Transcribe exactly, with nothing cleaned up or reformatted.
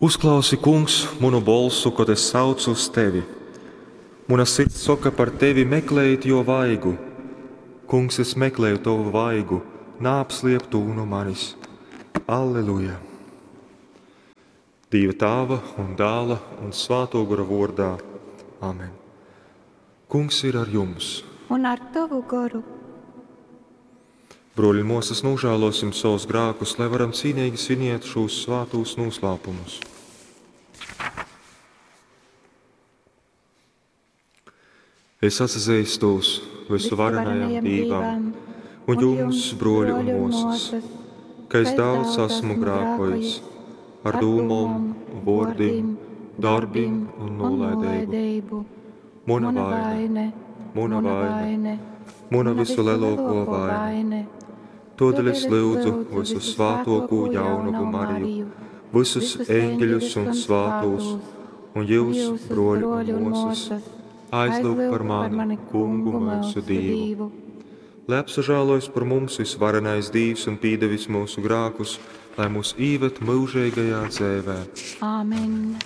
Uzklausi, Kungs, munu bolsu, kod es saucu uz tevi. Muna sirds soka par tevi, Meklejit jō vaigu! Kungs, es mekleju tovu vaigu, naapsliep tū nu manis. Alleluja! Dīva Tāva un Dāla un Svātō Gora vōrdā. Amen. Kungs ir ar jums. Un ar tovu goru. Brōļi un mōsas, nožēlosim savus grākus, lai varam cīnīgi sviniet šūs svātūs noslēpumus. Es atsazīstos visuvarenajam Dīvam un jums, brōļi un mōsas, ka es daudz esmu grākojis ar dūmom, vōrdim, darbim un nolaideibu. Muna vaine, muna vaine, muna visulelōkō vaine. Tōdēļ es lyudzu visusvātōkū jaunavu Mariju, visus eņģeļus un svātūs, un jūs, brōļi un mōsas, aizlyugt par mani, Kungu myusu Dīvu. Lai apsažālojas par mums visvarenais Dīvs un pīdevis mūsu grākus, lai mūs īved myužeigajā dzeivē. Āmen.